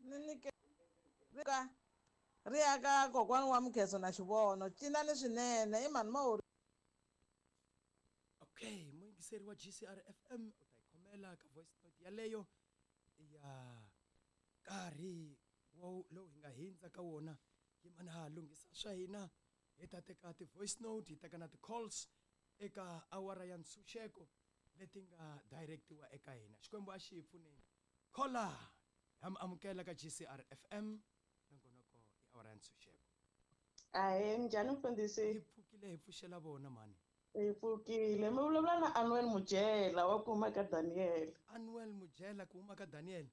Ni nyike ka ri ya ka kokwani wa Mukheso na Xivono. Cinani swinene i mhani Mawuri. Okay, muyingiseri wa GCR FM u ta yi khomela ka voice note yaleyo ya nkarhi lowu hi nga hindza ka wona. Yimani ha lunghisa swa hina, hi ta teka ti-voice note, hi teka na ti-calls eka awara ya ntshunxeko leti nga directiwa eka hina. Xikwembu a xi hi pfuneni. Khola ha mi amukela ka GCR FM, nongonoko i awara ya ntshunxeko. Ahee, minjhani mfundhisi? Hi pfukile, hi pfuxela vona mhani. Hi pfukile. Mi vulavula na Anuel Mujela wa ku huma ka Daniel. Anuel Mujela ku huma ka Daniel?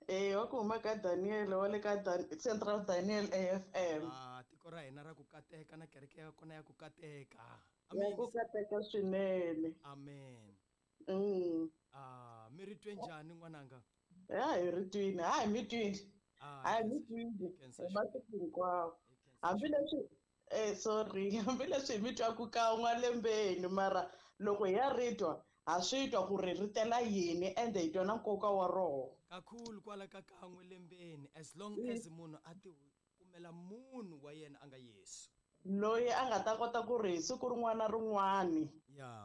Eh, wa ku huma ka Daniel wa le ka Central Daniel AFM. Ah, tiko ra hina ra ku kateka na kereke ya kona ya ku kateka. Ya ku kateka swinene. Amen. Ah, mi ri twe njhani n'wananga? Ya hi ri twini, ha hi mi twini. Ha hi mi twini. Hi masiku hinkwawo. Hambileswi sorry, hambileswi hi mi twaku kan'we lembeni, mara loko hi ya ri twa ha swi twa ku ri ri tela yini ende hi twa na nkoka wa roho. Kakhulu kwala ka kan'we lembeni, as long as munhu a ti kumela munhu wa yena a nga Yesu. Loyi a nga ta kota ku ri hi siku rin'wana na rin'wana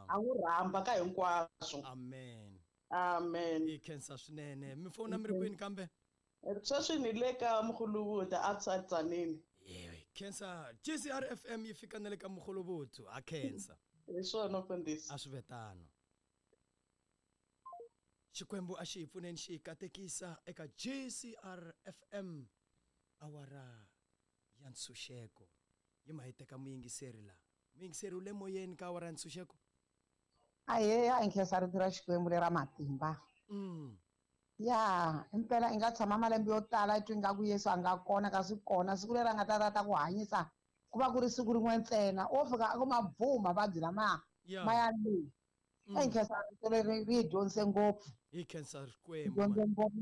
a n'wi rhamba ka hinkwaswo. Amen. Amen. Hi khensa swinene. Mi fona mi ri kwini kambe? Sweswi ni le ka Mkhulubuthu outside Tzaneen. Yewe, khensa. GCR FM yi fika na le ka Mkhulubuthu, ha khensa. Hi swona mfundhisi. A swi ve tano. Xikwembu a xi hi pfuneni xi hi katekisa eka GCR FM awara ya ntshunxeko. Yi ma hi teka muyingiseri la. Muyingiseri u le moyeni ka awara ya ntshunxeko? Ahee, a hi nkhensa rito ra Xikwembu lera matimba. Ya, impela i nga tshama malembe yo tala i twa ingaku Yesu a nga kona kasi kona siku leri a nga ta ta ta ku hanyisa ku va ku ri siku rin'we ntsena o fika a ku mabvuma mavabyi lamaya ma ya le. A hi nkhensa rito leri ri hi dyondzise ngopfu. Hi khensa Hi Xikwembu. dyondze ngopfu na